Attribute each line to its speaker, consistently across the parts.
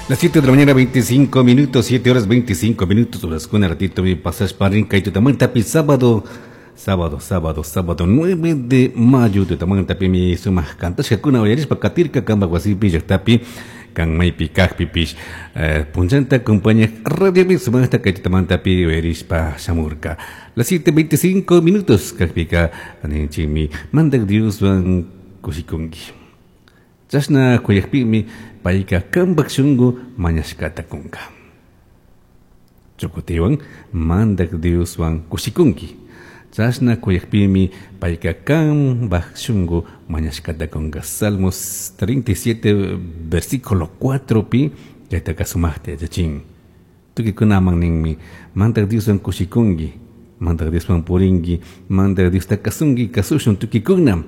Speaker 1: Las 7 de la mañana, 25 minutos, 7 horas 25 minutos, horas con ratito mi pasas parin kaitutamanta sábado, sábado, sábado, sábado 9 de mayo tutamantapi mi sumaq kantashkakuna uyarispa katirka kanpak wasipi llaktapi kan maypi kajpipish punllanta acompaña radiopi sumaqta kay tutamantapi uyarispa shamurka. Las 7:25 minutos kajpika ninchikmi mandak Dioswan kushikunki. Chashna kuyakpimi payka kanpak shunku mañashkata kunka. Chukutiwan mandak Dioswan kushikunki. Chashna kuyakpimi payka kanpak shunku mañashkata kunka. Salmos 37 versículo 4 pi chaytaka sumaqta yachachin. Tukikunaman ninmi mandak Dioswan kushikunki, mandak Dioswan purinki, mandak Diosta kasunki, kasushun tukikuna.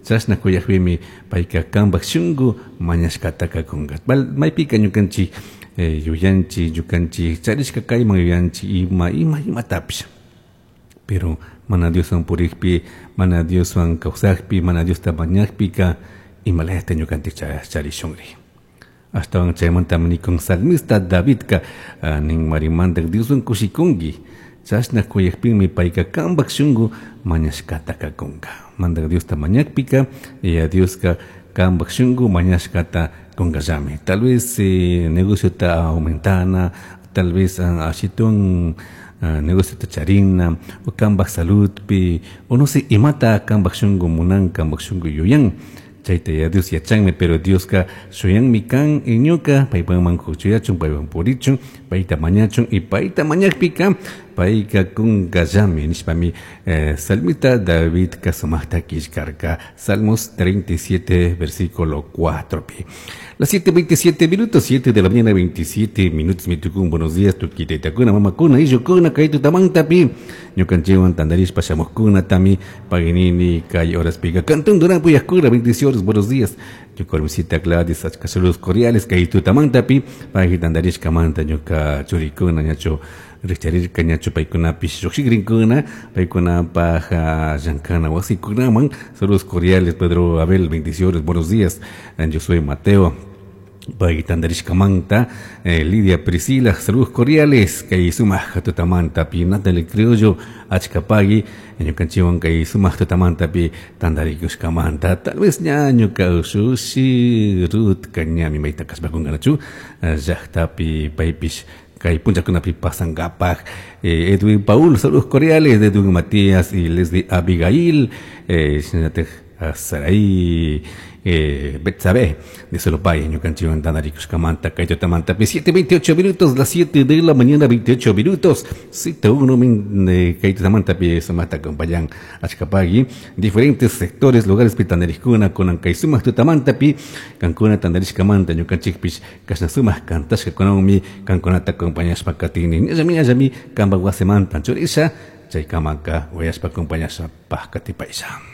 Speaker 1: Chashna kuyakpimi payka kanpak shunku mañashkataka kunka. Maypika ñukanchik yuyanchik, ñukanchik charishka kayman yuyanchik ima, ima, imatapish. Pero mana Dioswan purikpi, mana Dioswan kawsakpi, mana Diosta mañakpika imalayata ñukanchik charishunri. Ashtawan chaymantami nikun salmista Davidka, nin mari mandak Dioswan kushikunki. Chashna kuyakpimi payka kanpak shunku mañashkataka kunka. Mandak Diosta mañakpika, Yaya Dioska kanpak shunku mañashkata kunkallami. Tal vez negociota aumentana, tal vez ashitun negociota charina, o kanpak saludpi, o no sé, imata kanpak shunku munan, kanpak shunku yuyan. Chayta ya Dios yachanmi, pero Dioska shuyanmi kan ñuka, paypaman kuchuyachun, paywan purichun, payta mañachun, y payta mañakpika, payka kunkallami, nishpami salmista David sumaqta killkarka. Salmos 37, versículo 4 pi. Las 7:27 minutos, 7 de la mañana, 27 minutos, mi tukun, buenos días, tukitaitakuna, mamakuna, ishukuna, kay tutamantapi, ñukanchikwan tandarishpa shamuqkuna, tami, paginini, kay horas pica, cantón Durán, puyaqkuna, bendiciones, buenos días, ñuka hermosita Gladys, achka saludos cordiales, kay tutamantapi, pagui tandarishkamanta, ñuka churikuna, ñachu rikcharirka, ñachu paykunapish lluqshikrinkuna, paykunapaj llankana wasikunaman, saludos cordiales, Pedro Abel, bendiciones, buenos días, yo soy Mateo, pay tandarishkamanta, Lidia Priscila, saludos cordiales, kay sumaq tutamanta pi Natalie Criollo, achkapagui, ñukanchikwan kay sumaq tutamanta pi tandarikushkamanta, tal vez ña ñuka ushushi Ruth ñami mayta kashpakunkanachu, llaqtapi paypish kay punchakunapi pasankapaj, Edwin Paul, saludos cordiales, de Edwin Matías y Leslie Abigail, shinallataj Sarai, Betsabe, de Solopay, ñukanchikwan tandarikushkamanta, kay tutamanta pi 7:28 minutos, las 7 de la mañana, 28 minutos, siete uno min, kay tutamanta pi sumaqta acompañan achkapagui, diferentes sectores, lugares pi tandarikuna, kunan kay sumaq tutamanta pi, kankuna tandarishkamanta, ñukanchikpish, kashna sumaq kantashkakunawmi, kankunata acompañashpa katini, ñallami, ñallami, kanpak wasimanta churisha, chaykamaka, uyashpa acompañashpa katipaylla.